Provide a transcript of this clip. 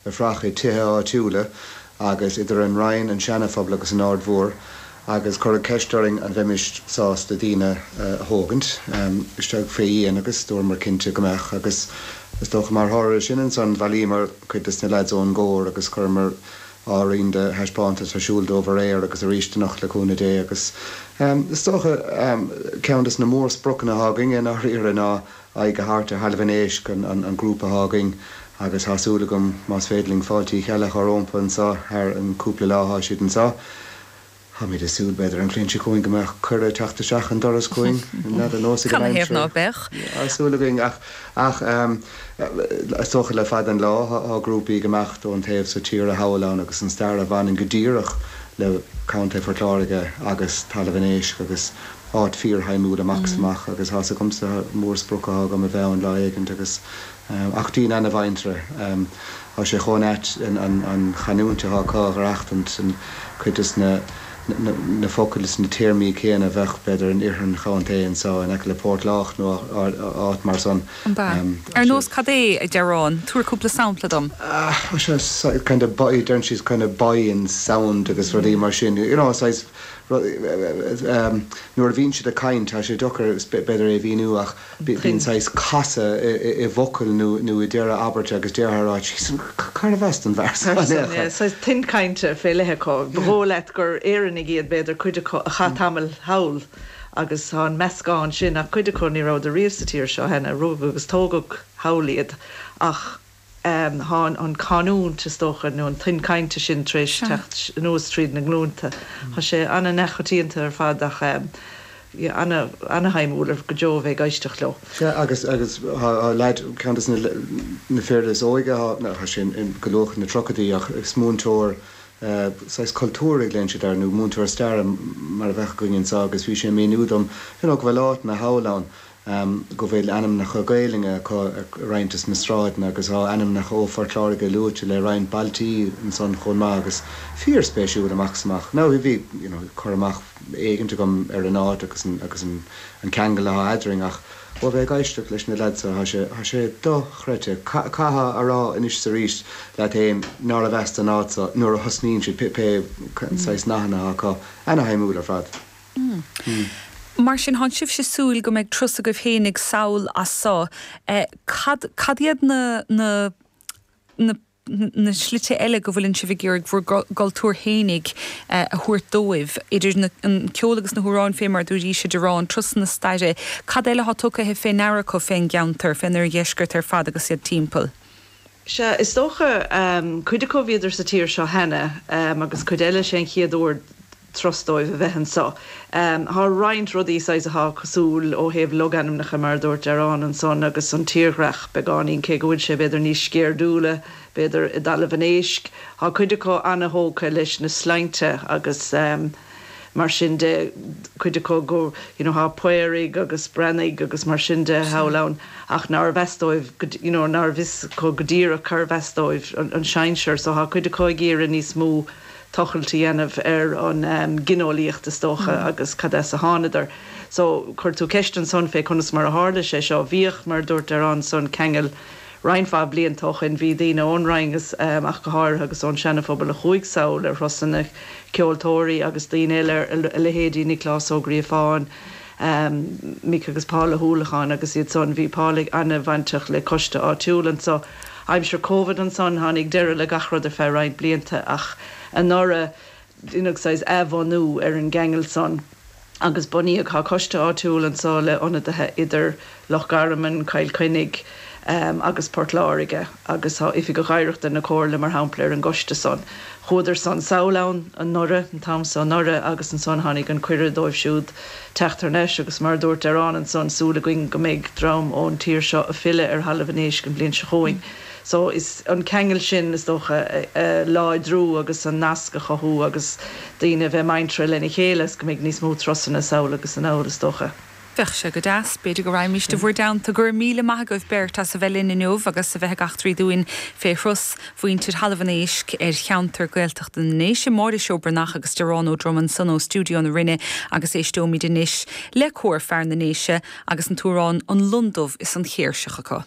Ag fuireach i tithe áitiúla agus idir an Rinn, an Seana-Phobal agus an Aird Mhór agus cuireadh ceist orainn an bheimis sásta daoine a thógaint isteach fé dhíon agus dúramar cinnte go mbeadh agus is dócha mar thoradh ar sin ansan bhailíomar cuid des na leaids ón gcór agus chuireamar roinnt de thaispeántas ar siúl dóibh aréir agus arís anocht le cúnamh Dé agus is dócha ceann des na mór-spriocanna atá againn i ndáiríre ná aghaidh a thabhairt ar Thalamh an Éisc, an grúpa atá againn, agus tá súil agam, más féidir linn, Fáilte Uí Cheallaigh a chur rómpa anso thar an cúpla lá atá siad anso. Táimid ag súil, b'fhéidir, an bhliain seo chugainn go mbeadh cuireadh ag teacht isteach an doras chugainn, n'fheadar, nós ag an aimsir. Canathaobh ná beadh? Tá súil againn, ach, ach, is dócha le fada an lá, tá grúpaí ag imeacht ón taobh so tíre thall ann agus an stair a bhaineann go díreach le Contae Phort Láirge agus Talamh an Éisc agus, áit fíorshuimiúil amach is amach agus tá's agamsa mórsprioc atá agam a bheith ann lá éigint agus ach daoine ana-mhuinteartha. Tá sé chomh ait an chanúint atá acu a dh'aireachtaint, an cuid des na na focail is na téarmaí céanna a bheadh b'fhéidir in oirthear an chontae anso in aice le Port Lách nó áit mar san. An ea? Ar nós cad é, a Dearáin? Tabhair cúpla sampla dom. Tá sé kind of deireann siad kind of buy-in sound agus rudaí mar sin, you know, saghas Nuair a bhíonn siad ag caint, tá sé deacair b'fhéidir é a mhíniú ach bíonn saghas casadh i bhfocal nó i deireadh abairte agus déarfá a rá jeez cárbh as don bhfear seo in aon chor? Saghas tuin cainte fé leith acu. Ba dhóigh leat gur Éireannaigh iad b'fhéidir, cuid acu a chaith tamall thall agus tá an meascán sin ach cuid acu ní rabhadar riamh sa tír seo cheana, rugadh agus tógadh thall iad ach Tá an chanúint, is dócha, nó an tuin cainte sin tar éis teacht anuas tríd na glúnta. Tá sé ana-neamhchoitianta ar fad ach ana-shuimiúil go deo a bheith ag éisteacht leo. Sea, agus agus tá leaid, ceann des na fir is óige, tá sé go luath ina tríochaidí ach is múinteoir saghas cultúir a ghlaonn siad air nó múinteoir staire mar a bheadh againn anseo agus bhí sé ag míniú dom you know go bhfuil áiteanna thall ann go bhfuil ainmneacha Gaelainne acu ar roinnt des na sráideanna agus tá ainmneacha ó Phort Láirge luaite le roinnt bailtí ansan chomh maith agus fíor spéisiúil amach is amach. Now bhí you know cur amach éigint agam ar an áit agus an agus an an ceangal atá eadrainn ach ó bheith ag éisteacht leis na leaids so tá sé tá sé dochreidte. Caithfeá a rá anois is arís leat fhéin nárbh as don áit so nuair a thosnaíonn siad pé saghas nathanna atá acu. Ana-shuimiúil ar fad. Mar sin, thánn sibhse súil go mbeidh turas agaibh fhéinig sall as so. Cad, cad iad na, na, na, na slite eile go bhfuileann sibh ag iarraidh bhur gcultúr fhéinig a thabhairt dóibh, idir na, an ceol agus na hamhráin fé mar a dúraís, a Dearáin, turasanna staire, cad eile thá tugtha fé ndeara acu fén gceantar, fén oirdheisceart ar fad agus iad timpeall? Sea, is dócha, cuid acu bhíodar sa tír seo cheana agus cuid eile sé an chéad uair turas dóibh a bheith anso. Thá roinnt rudaí saghas athá cosúil ó thaobh logainmneacha mar a dúirt Dearán ansan agus an tírdhreach beagáinín cé go bhfuil sé b'fhéidir níos sceirdiúla b'fhéidir i dTalamh an Éisc. Thá cuid acu ana-thógtha leis na sloinnte agus mar sin de, cuid acu go you know thá Paoraigh agus Breathnaigh agus mar sin de thall ann ach nárbh as dóibh go you know nárbh fhios acu go díreach cárbh as dóibh an sinsear so thá cuid acu ag iarraidh níos mó tochailt a dhéanamh ar an gineolaíocht is dócha agus cad as a thánadar. So chuir tú ceist ansan fé conas mar a tharla sé seo. Bhíodh, mar a dúirt Dearán ansan, ceangal roinnt mhaith blianta ó shoin. Bhí daoine ón Rinn ach go háirithe agus ón Seana-Phobal a chuaigh sall ar thurasanna, ceoltóirí agus daoine eile, a leithéidí Nioclás Ó Gríofáin, Mick agus Paul Ó hUallacháin agus iad san. Bhí Paul ana-bhainteach le coiste áitiúil anso. Aimsir Covid ansan, tháinig deireadh le gach rud ar feadh roinnt blianta ach anuraidh deineadh saghas athbhunú ar an gceangal san agus bunaíodh, tá coiste áitiúil anso le ionadaithe idir Loch Garman, Cill Chainnigh agus Port Láirge agus tá Oifigeach Oidhreachta na Comhairle mar shampla ar an gcoiste san. Chuadar san sall ann anuraidh, an t-am so anuraidh agus ansan tháinig an cuireadh dóibh siúd teacht thar n-ais agus mar a dúirt Dearán ansan, súil againn go mbeidh dream ón tír seo a filleadh ar Thalamh an Éisc an bhliain seo chugainn. So is an ceangal sin is dócha a láidriú agus an nasc a chothú agus daoine a bheith muinteartha lena chéile is go mbeidh níos mó turasanna sall agus anall is dócha. Bheadh sé go deas. B'fhéidir go raghaimíst i bhur dteannta. Go raibh míle maith agaibh beirt as a bheith linn inniu agus a bheith ag eachtraí dúinn fé thuras mhuintir Thalamh an Éisc ar cheantar Gaeltachta na nDéise, Máire Seó Breathnach agus Dearán Ó Droma ansan ó Stiúideo na Rinne agus éisteoimid anois le Cór Fear na nDéise agus an t-amhrán 'An Lon Dubh is an Chéirseach' acu.